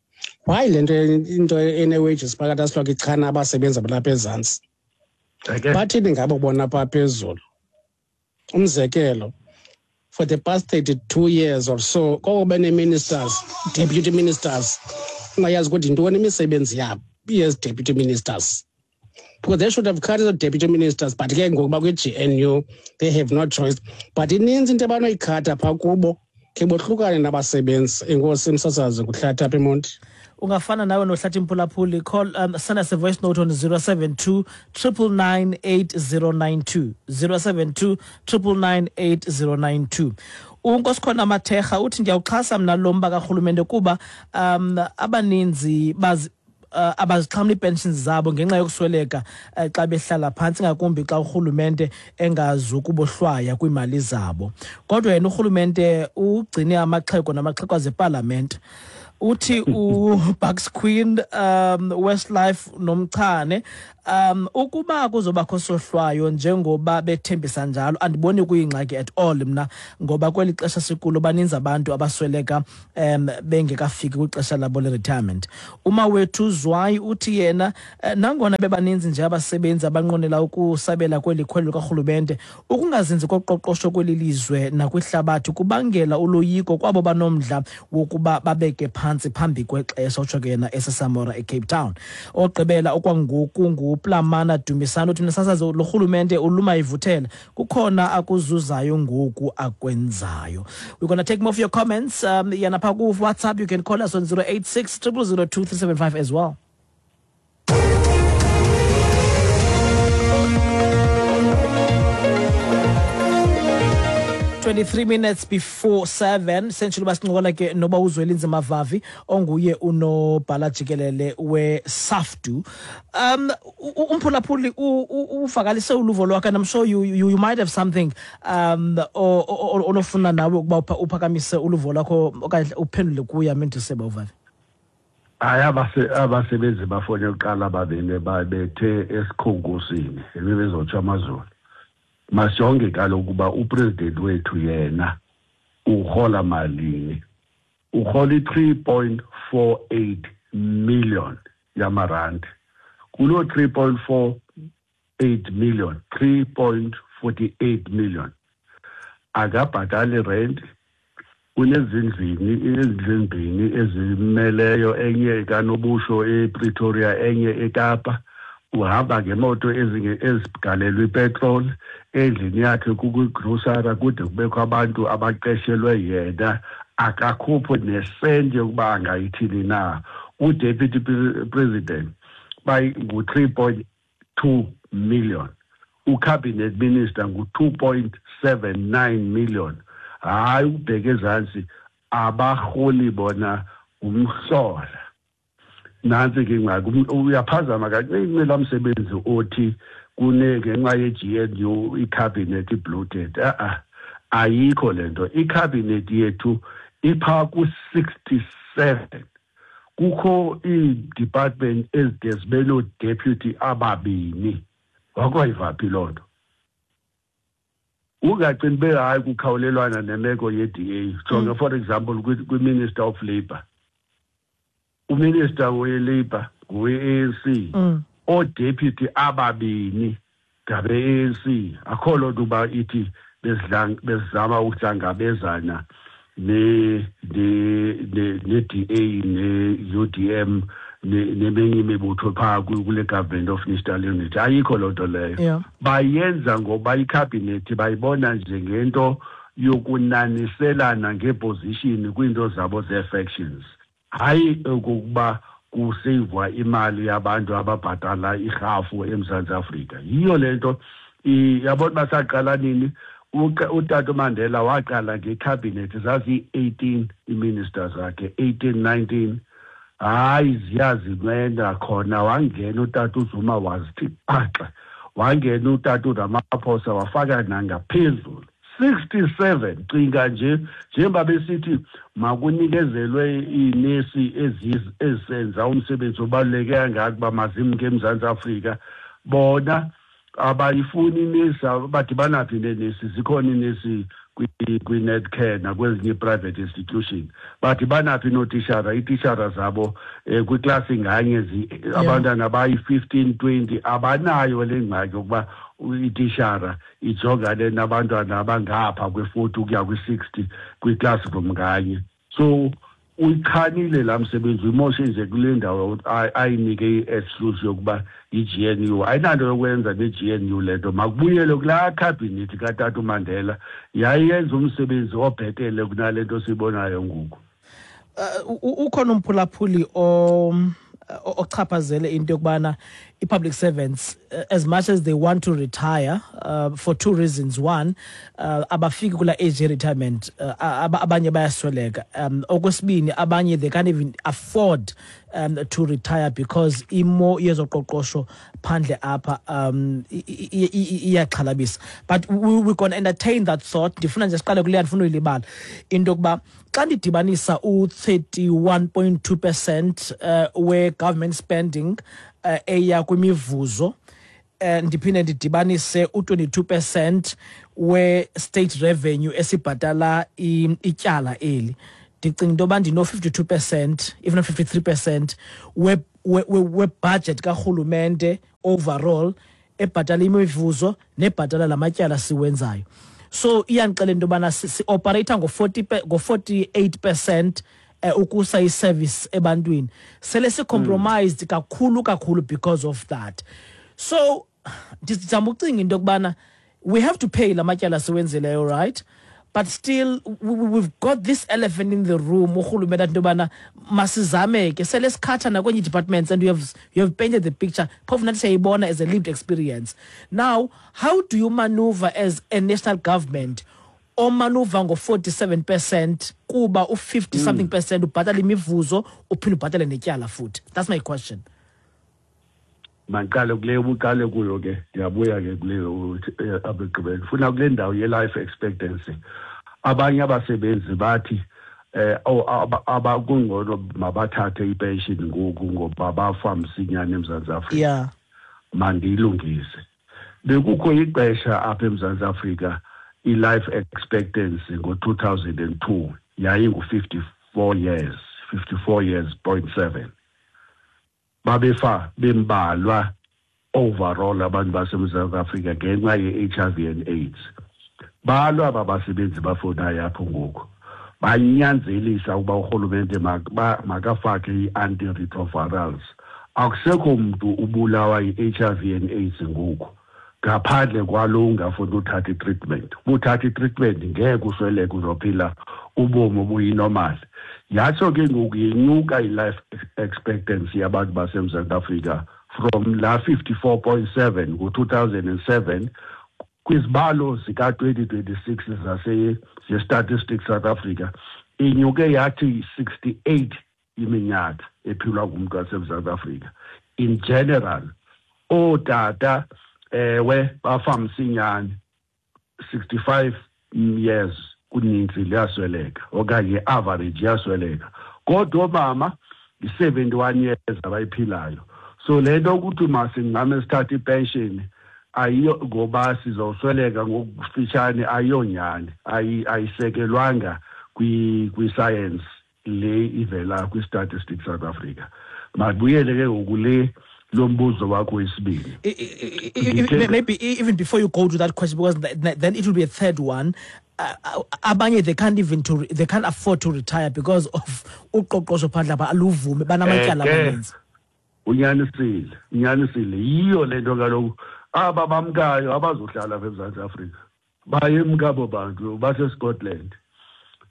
Why le nto into ene-wages phakathi asiloko ichana abasebenzi abalapha ezantsi? Bathini ngabo bona phaa phezulu? Umzekelo, for the past 32 years or so, koko bene-ministers, deputy ministers, ungayazi ukuthi yintoni imisebenzi yabo yes deputy ministers, because they should have cut the deputy ministers. But ke ngoku bakwi-GNU, they have no choice. But ininzi into abanoyikhatha phaa kubo, khe bohlukane nabasebenzi. Enkosi msasazi, kuhlatha apha eMonti. Ungafana nawe nohlathi mphulaphuli, call send us a voice note on 072 999 8092, 072 999 8092. Unkosikhona Mathekga uthi, "Ndiyawuxhasa mna lo mba karhulumente kuba abaninzi bazi abazixhamli ii-pensions zabo ngenxa yokusweleka xa behlala phantsi, ngakumbi xa urhulumente engazukubohlwaya kwiimali zabo. Kodwa yena urhulumente ugcine amaxhego namaxhekwazi epalamente." Uthi uBucks Queen, Westlife nomchane, ukuba kuzobakho sohlwayo njengoba bethembisa njalo, andiboni kuyingxaki at all mna, ngoba kweli xesha sikulo baninzi abantu abasweleka bengekafiki kwixesha labo le-retirement. Umawethu Zwayi uthi yena, nangona bebaninzi nje abasebenzi abanqwenela ukusabela kweli khwelo likarhulumente, ukungazinzi koqoqosho kweli lizwe nakwihlabathi kubangela uloyiko kwabo banomdla wokuba babeke phantsi phambi kwexesha. Utsho ke yena eseSamora eCape Town. Ogqibela okwangoku nguPlamana Dumisani, uthi, "Msasazi, lo rhulumente uluma ivuthela, kukhona akuzuzayo ngoku akwenzayo." We're gonna take more of your comments yana phaa ku-WhatsApp. You can call us on 086 000 2375 as well. 23 minutes before 7, sentshilo uba sincokola ke noba uZwelinzima Vavi, onguye unobhala jikelele weSAFTU. Umphulaphuli uvakalise uluvo lwakhe, and I'm sure you might have something onofuna nawe ukuba uphakamise uluvo lwakho okanye uphendule kuye. Amendiseba uVavi. Hayi, abasebenzi bafone kuqala babini babethe esikhonkosini ebebezotsho amazulu. Masijonge kaloku uba upresident wethu yena urhola malini. Urhola i-3.48 million yamarandi. Kuloo 3.48 million, 3.48 million, akabhatali rent, unezindlini, izindlu ezimbini ezimeleyo, enye kanobusho ePretoria, enye eKapa. Uhamba ngemoto ezigalelwe ipetroli. Endlini yakhe kukwigrosara, kude kubekho abantu abaqeshelwe yena. Akakhuphi nesenti yokuba angayithini na. Udeputy president ngu-3.2 million, ucabinet minister ngu-2.79 million. Hayi, ukubheka ezantsi abarholi bona umhlola. Nantsi ke ingxaki. Uyaphazama kancinci laa msebenzi othi kune ngenxa ye-GNU icabinet ibloated. A-a, ayikho le nto. Icabinet yethu iphaa ku-67. Kukho ii-department ezide zibe noo-deputy ababini. Wakwayiva phi loo nto? Ungacini be hayi, kukhawulelwana nemeko ye-DA. Jonge, for example, kwi-minister of labour, uminister we-labour ngowe-ANC, oodeputy ababini ngabe-ANC. Akho loo nto uba ithi bezama ukuhlangabezana ne-DA ne-UDM neminye imibutho phaa kule government of national unity. Ayikho loo nto leyo. Bayenza ngoba ikhabhinethi bayibona njengento yokunaniselana ngeposition kwiinto zabo zee-factions, hayi okokuba kuseyivwa imali yabantu ababhatala irhafu eMzantsi Afrika. Yiyo le nto yabona uba saqala nini. Utata uMandela waqala ngekhabhinethi zaziyi-18 iiminister zakhe, 18, 19. Hayi, ziyazinceda khona. Wangena utata uZuma wazithi phaxa, wangena utata uRamaphosa wafaka nangaphezulu 67. Cinga nje, njengoba besithi makunikezelwe iinesi ezisenza umsebenzi obaluleke kangaka uba mazimke eMzantsi Afrika, bona abayifuni inesi. Badibana phi neenesi? Zikhona iinesi kwi-Netcare nakwezinye i-private institution. Badibana phi nootishara? Iitishara zabo kwiklasi nganye abantwana bayi-15, 20. Abanayo le ngxaki yokuba itishara ijongane nabantwana abangapha kwe-40 ukuya kwi-60 kwi-classroom nganye. So uyichanile laa msebenzi, uyimoshe nje kule ndawo ayinike i-excuse yokuba yi-GNU. Ayinanto yokwenza ne-GNU le nto. Makubuyelwe kulaa khabhinethi katata uMandela, yayenza umsebenzi obhetele kunale nto siyibonayo ngoku. Ukhona umphulaphuli ochaphazele into yokubana i-public servants, as much as they want to retire, for two reasons. One, abafiki kula age retirement, abanye bayasweleka. Okwesibini, abanye they can't even afford to retire because imo yezoqoqosho phandle apha iyaxhalabisa. But we're gonna entertain that thought. Ndifuna nje siqale kuleya, ndifuna uyilibala into yokuba xa ndidibanisa u-31.2% we-government spending eya kwimivuzo, ndiphinde ndidibanise u-22% we-state revenue esibhatala ityala eli, ndicinga into yoba ndino-52%, if not 53% we-budget karhulumente overall ebhatala imivuzo nebhatala lamatyala siwenzayo. So iyandixelela into yobana si-operate-a ngo-48% ukusa i-service ebantwini. Sele si-compromised kakhulu kakhulu because of that. So ndizama ucinga into yokubana we have to pay la matyala siwenzileyo, right? But still we've got this elephant in the room. Urhulumente athi into yobana masizame ke, sele sikhatha nakwenye departments, and you have painted the picture, phofu nathi siyayibona as a lived experience. Now, how do you maneuver as a national government o-maneuver ngo-47%, kuba u-50 something percent ubhatala imivuzo, uphinde ubhatale netyala futhi? That's my question. Mandiqale kule ubuqale kuyo ke, ndiyabuya ke kule apha ekugqibeleni. Ndifuna kule ndawo ye-life expectancy. Abanye abasebenzi bathi abakungcono mabathathe ipension ngoku ngoba bafa msinyane eMzantsi Afrika. Mandiyilungise, bekukho ixesha apha eMzantsi Afrika i-life expectancy ngo-2002 yayingu-54 years, 54 years point 7. Babefa bembalwa overall abantu baseMzantsi Afrika ngenxa ye-HIV and AIDS. Balwa aba basebenzi bafonayo apho ngoku, banyanzelisa ukuba urhulumente makafake i-antiretrovirals. Akusekho mntu ubulawa yi-HIV and AIDS ngoku ngaphandle kwalo ungafuni uthatha i-treatment. Ubuthatha i-treatment, ngeke usweleke, uzophila ubomi obuyi-normal. Yatsho ke ngoku yenyuka i-life expectancy yabantu baseMzantsi Afrika from la 54.7 ngo-2007. Kwizibalo zika-2026 zase ze-Statistics South Africa inyuke yathi 68 iminyaka ephilwa ngumntu waseMzantsi Afrika in general. Ootata, ewe, bafa msinyane, 65 years kuninzi liyasweleka okanye i-average iyasweleka, kodwa oomama yi-71 years abayiphilayo. So le nto ukuthi masingxame sithathe ipension ayiyo ngoba sizosweleka ngokufitshane, ayiyonyani, ayisekelwanga kwi-science le ivela kwi-Statistics South Africa. Mabuyele ke ngoku le lo mbuzo wakho wesibini. Maybe even before you go to that question, because then it will be a third one. Abanye they can't afford to retire because of uqoqosho phandle apha aluvume, banamatyala amaninzi. Unyanisile, unyanisile. Yiyo le nto kaloku aba bamkayo abazohlala apha eMzantsi Afrika, bayemka abo bantu baseScotland.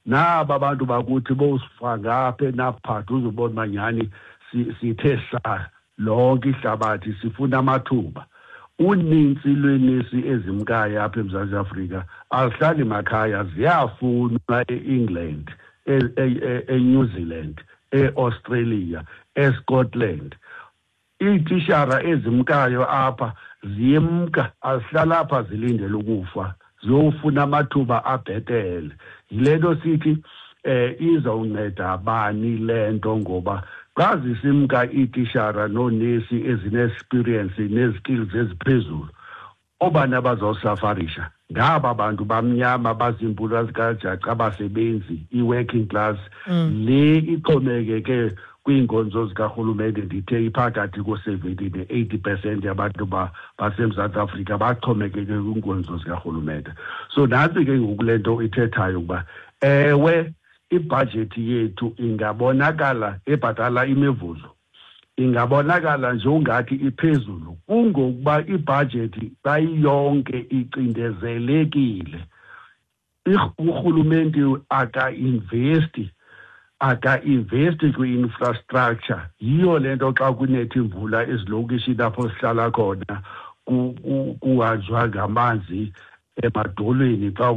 Naba bantu bakuthi bowusifa ngapha enaphatha, uzubona uba nyhani sithe sa lonke ihlabathi sifuna amathuba. Unintsi lwenesi ezimkayo apha eMzantsi Afrika azihlali makhaya, ziyafunwa e-England, eNew Zealand, e-Australia, eScotland. Iitishara ezimkayo apha ziyemka, azihlala apha zilindele ukufa, ziyofuna amathuba abhetele. Yile nto sithi izawunceda bani le nto, ngoba xa zisimka iitishara noonesi ezine-experience nee-skills eziphezulu, oobani abazawusafarisha? Ngaba bantu bamnyama baziimpula zikajaca, abasebenzi, i-working class le ixhomekeke kwiinkonzo zikarhulumente. Ndithe iphakathi ko-70 ne-80% yabantu baseMzantsi Afrika baxhomekeke kwiinkonzo zikarhulumente. So nantsi ke ngoku le nto ithethayo ukuba ewe, ibhajethi yethu ingabonakala ebhatala imivuzo, ingabonakala nje ungathi iphezulu, kungokuba ibhajethi bayiyonke icindezelekile. Urhulumente aka-investi. Aka-investi kwi-infrastructure. Yiyo le nto xa kunetha imvula ezilokishini apho sihlala khona kuhanjwa ngamanzi emadolweni, xa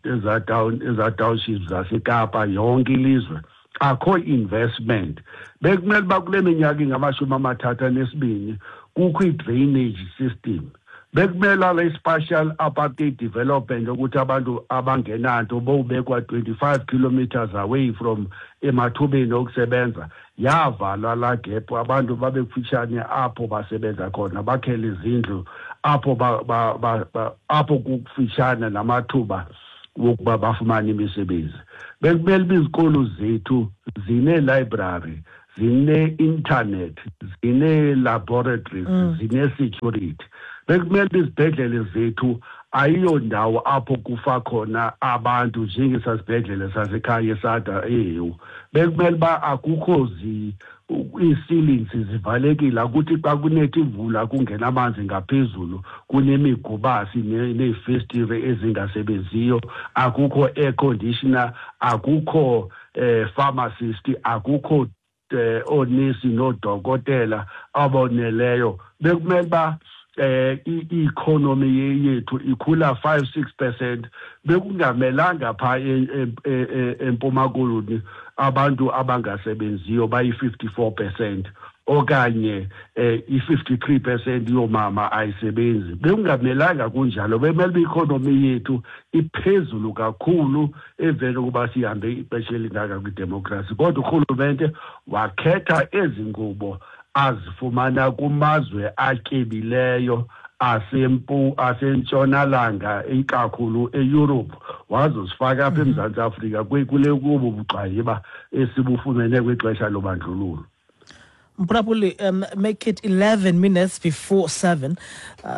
ezaa townships zaseKapa, yonke ilizwe akho investment. Bekumele uba kule minyaka ingama-32 kukho i-drainage system. Bekumele ale spatial apartheid development ukuthi abantu abangenanto bowubekwa 25 kilometers away from emathubeni okusebenza, yavalwa laa gap, abantu babe kufutshane apho basebenza khona, bakhele izindlu apho apho kukufutshane namathuba wokuba bafumane imisebenzi. Bekumele uba izikolo zethu zine-library, zine-internet, zine-laboratories, zine-security. Bekumele uba izibhedlele zethu ayiyondawo apho kufa khona abantu njengesasibhedlele sasekhaya esada eHewu. Bekumele uba akukho ii-ceilings zivalekile, akuthi xa kunetha imvula kungena amanzi ngaphezulu, kunemigubasi neefestire ezingasebenziyo, akukho air conditioner, akukho pharmacist, akukho oonesi noodokotela aboneleyo. Bekumele uba i-economy yethu ikhula 5-6%. Bekungamelanga phaa eMpuma Koloni abantu abangasebenziyo bayi-54% okanye i-53% yoomama ayisebenzi. Bekungamelanga kunjalo. Bekumele uba i-economy yethu iphezulu kakhulu emveni kokuba sihambe ixesha elingaka kwidemokhrasi. Kodwa urhulumente wakhetha ezi nkqubo azifumana kumazwe atyebileyo asentshonalanga, ikakhulu eYurophu, wazozifaka apha eMzantsi Afrika kule kubo bugxwayiba esibufumene kwixesha lobandlululo. Mphulaphuli, make it 11 minutes before 7.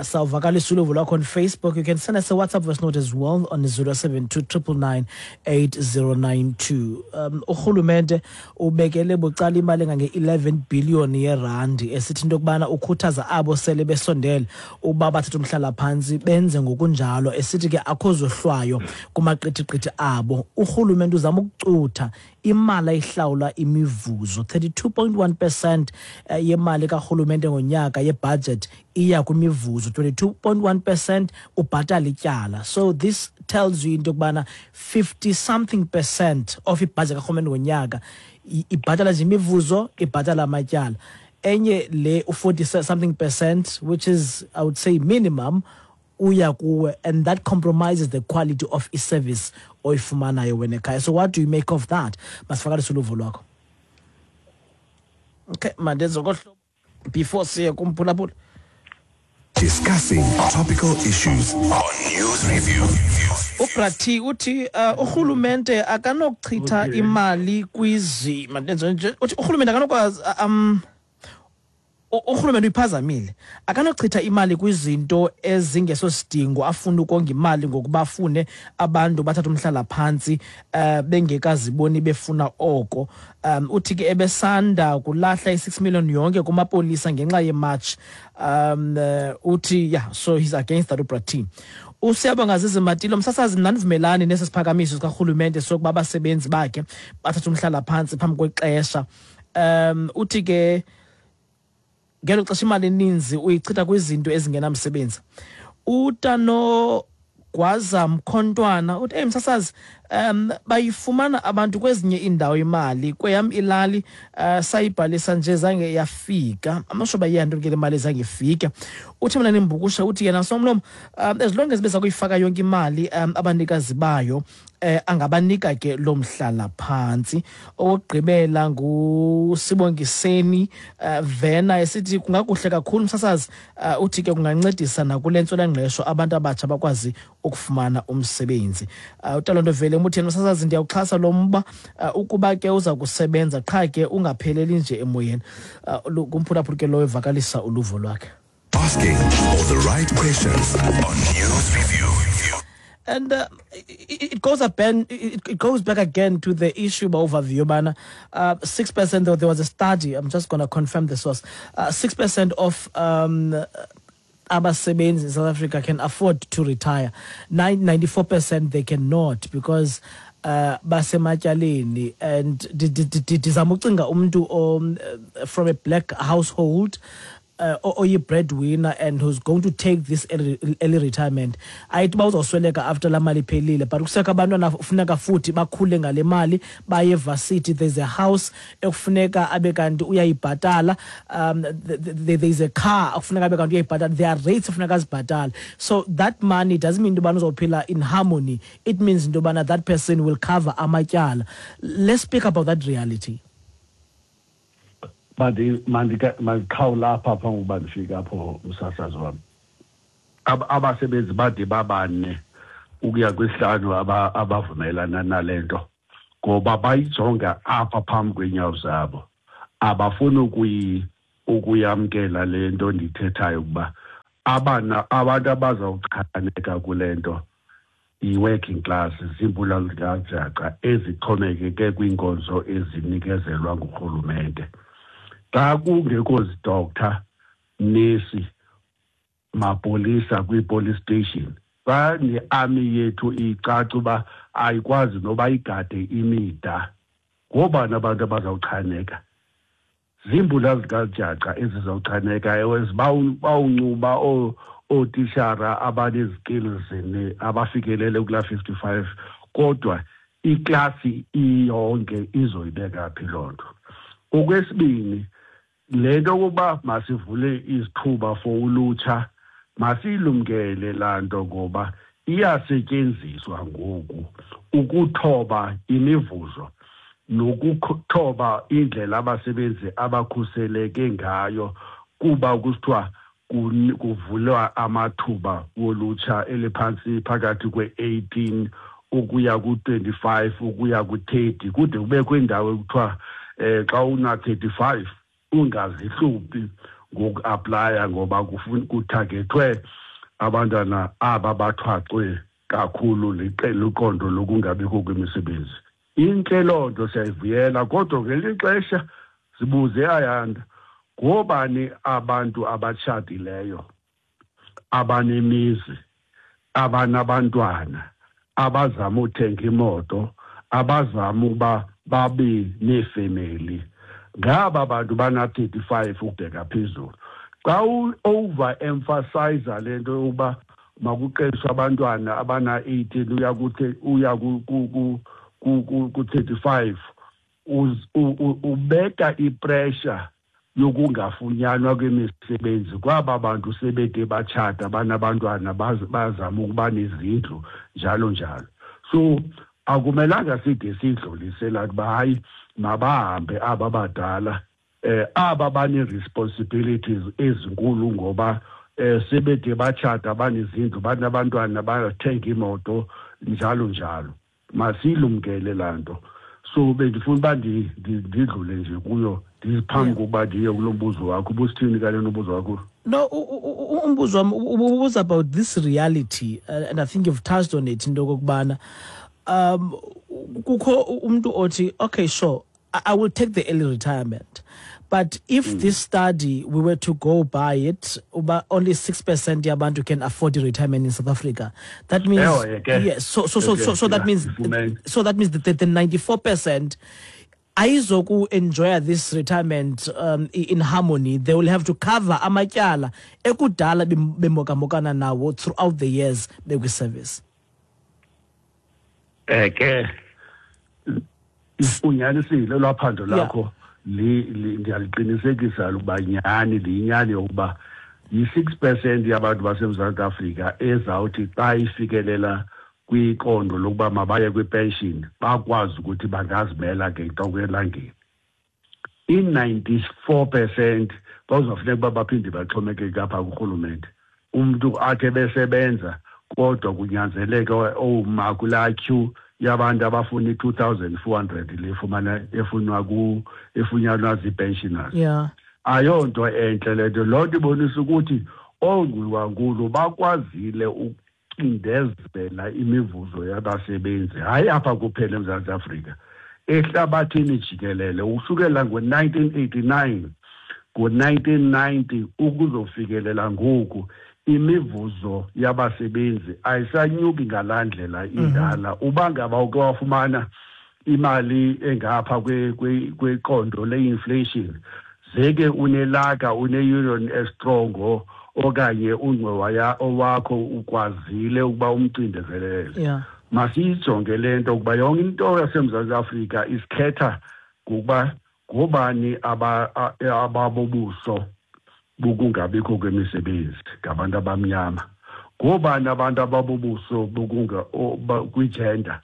Sawuvakalisa uluvo lwakho on Facebook. You can send us a WhatsApp voice note as well on 072 999 8092. Urhulumente ubekele bucala imali engange-11 billion yerandi, esithi into yokubana ukhuthaza abo sele besondele uba bathathe umhlalaphantsi benze ngokunjalo, esithi ke akho zohlwayo kumaqithiqithi abo. Urhulumente uzama ukucutha imali ayihlawula imivuzo. 32.1% yemali karhulumente ngonyaka yebudget iya kwimivuzo, 22.1% ubhatala ityala. So this tells you into yokubana 50 something percent of ibudget karhulumente ngonyaka ibhatala nje imivuzo, ibhatala amatyala. Enye le u-40 something percent, which is I would say minimum, uya kuwe, and that compromises the quality of i-service oyifumanayo wena ekhaya. So what do you make of that? Masivakalise uluvo lwakho. Okay, mandenze kohlobo before siye kumphulaphula. Discussing topical issues on News Review. UBrati uthi urhulumente akanokuchitha imali kwizi, mandenze nje, uthi urhulumente akanokwazi, urhulumente uyiphazamile, akanochitha imali kwizinto ezingesosidingo, afune ukonga imali ngokuba afune abantu bathathe umhlalaphantsi bengekaziboni befuna oko. Uthi ke ebesanda kulahla i-6 million yonke kumapolisa ngenxa ye-march. Uthi yeah, so he's against that uBrati. Usiyabonga Zizimatilo, msasazi, mna ndivumelani nesi siphakamiso sikarhulumente sokuba abasebenzi bakhe bathathe umhlalaphantsi phambi kwexesha. Uthi ke ngelo xesha imali eninzi uyichitha kwizinto ezingenamsebenzi. Utano Gwaza Mkhontwana uthi, hey msasazi, bayifumana abantu kwezinye iindawo imali, kweyam ilali sayibhalisa nje zange yafika. Amasho bayiyanto ke le mali zange ifike. Uthi mina nimbukusha, uthi yena somlomo, as long as beza kuyifaka yonke imali abanikazi bayo, angabanika ke lo mhlala phantsi. Owokugqibela nguSibongiseni Vena, esithi kungakuhle kakhulu msasazi, uthi ke kungancedisa nakule ntswelangqesho, abantu abatsha bakwazi ukufumana umsebenzi. UTalonto Vele uthi, msasazi, ndiyawuxhasa lo mba, ukuba ke uza kusebenza, qha ke ungapheleli nje emoyeni. Kumphulaphuli ke lowo evakalisa uluvo lwakhe. Asking all the right questions on News Review. And it goes up and it goes back again to the issue of overview. Bana, 6%. There was a study. I'm just going to confirm the source. 6% of abasebenzi in South Africa can afford to retire. 94% they cannot, because Basematyaleni and ndizama ucinga umntu from a black household oyi-breadwinner and who's going to take this early retirement. Ayithi uba uzawusweleka after laa mali iphelile, but kusekho abantwana funeka futhi bakhule ngale mali, baye evasithi. There's a house ekufuneka abe kanti uyayibhatala, there's a car ekufuneka abe kanti uyayibhatala, there are rates ekufuneka azibhatale. So that money doesn't mean into yobana uzophila in harmony. It means into yobana that person will cover amatyala. Let's speak about that reality. Mandiqhawula apha phambi kokuba ndifike apho, msasazi wam. Abasebenzi bade babane ukuya kwisihlanu abavumelana nale nto ngoba bayijonga apha phambi kweenyawo zabo. Abafuni ukuyamkela le nto ndiyithethayo ukuba abantu abazawuchaneka kule nto yi-working class, ziimpula zikajaca ezixhomekeke kwiinkonzo ezinikezelwa ngurhulumente. Xa kungekho zidoctor, nesi, mapolisa kwi-police station, xa ne-army yethu icaca uba ayikwazi noba igade imida, ngoobani abantu abazawuchaneka? Ziimbula zikajaca ezizawuchaneka. Ewe, bawuncuba ootishara abanezikills abafikelele kulaa 55, kodwa iklasi iyonke izoyibeka phi loo nto? Okwesibini, le nto yokuba masivule izithuba for ulutsha, masiyilumkele laa nto ngoba iyasetyenziswa ngoku ukuthoba imivuzo nokuthoba indlela abasebenzi abakhuseleke ngayo, kuba kusithiwa kuvulwa amathuba wolutsha eliphantsi phakathi kwe-18 ukuya ku-25 ukuya ku-30, kude kubekho indawo ekuthiwa xa una-35 ungazihluphi ngoku-aplaya ngoba kuthagethwe abantwana aba bathwaxwe kakhulu liqondo lokungabikho kwemisebenzi. Intle loo nto, siyayivuyela, kodwa ngelinye ixesha sibuze, Ayanda, ngoobani abantu abatshatileyo, abanemizi, abanabantwana, abazama uthenga imoto, abazama ukuba babe neefemeli? Ngaba bantu bana-35 ukubheka phezulu. Xa u-over-emphasize le nto yokuba makuqeshwe abantwana abana-18 uya ku-35, ubeka ipressure yokungafunyanwa kwemisebenzi kwaba bantu sebede batshata, banabantwana, bazama ukuba nezindlu, njalo njalo. So akumelanga side sidlulise laa uba hayi, mabahambe aba badala, aba bane-responsibilities ezinkulu ngoba sebede batshata, banezindlu, banabantwana, bathenga imoto, njalo njalo. Masiyilumkele laa nto. So bendifuna uba ndidlule nje kuyo ndiphambi kokuba ndiye kulo mbuzo wakho. Ubusithini kale nombuzo wakho? No, umbuzo wam ubuza about this reality, and I think you've touched on it, into okokubana kukho umntu othi, okay, sure, I will take the early retirement, but if this study, we were to go by it, uba only 6% yabantu can afford the retirement in South Africa, that means Ewe, ke. Yes, so that means Ifumene. so that means that the 94% ayizoku enjoy this retirement in harmony. They will have to cover amatyala ekudala bemokamokana nawo throughout the years bekwi-service. Ke unyanisile lwaphando lakho, ndiyaliqinisekisa ukuba nyhani liyinyani yokuba yi-6% yabantu baseMzantsi Afrika ezawuthi xa ifikelela kwiqondo lokuba mabaye kwipension bakwazi ukuthi bangazimela ngentloko elangeni. I-94% bazawufuneka uba baphinde baxhomekeke apha kurhulumente. Umntu athe besebenza kodwa kunyanzeleke oma kulaa queue yabantu abafuna i-2400 le efumana, efunwa ku, efunyanwa zii-pensioners. Ayonto entle le nto. Loo nto ibonisa ukuthi oongxowankulu bakwazile ukucindezela imivuzo yabasebenzi, hayi apha kuphela eMzantsi Afrika, ehlabathini jikelele, ukusukela ngo-1989, ngo-1990 ukuzofikelela ngoku. Imivuzo yabasebenzi ayisanyuki ngalaa ndlela indala. Uba ngaba uke wafumana imali engapha kweqondo le-inflation, zeke unelaka, une-union e-strong okanye ungxowa owakho ukwazile ukuba umcindezelele. Masiyijonge le nto, ukuba yonke into yaseMzantsi Afrika isikhetha ngokuba ngobani ababobuso bokungabikho kwemisebenzi, ngabantu abamnyama. Ngobani abantu ababobuso kwi-gender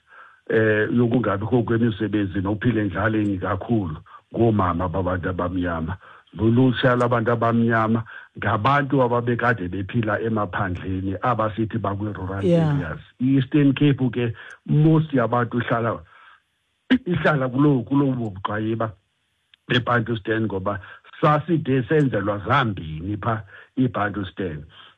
yokungabikho kwemisebenzi nokuphila endlaleni kakhulu? Ngoomama babantu abamnyama, lulutsha labantu abamnyama, ngabantu ababekade bephila emaphandleni, abasithi bakwi-rural areas. I-Eastern Cape ke, most yabantu ihlala kuloo bugxwayiba beBantustan, ngoba saside senzelwa zambini phaa iBantustan.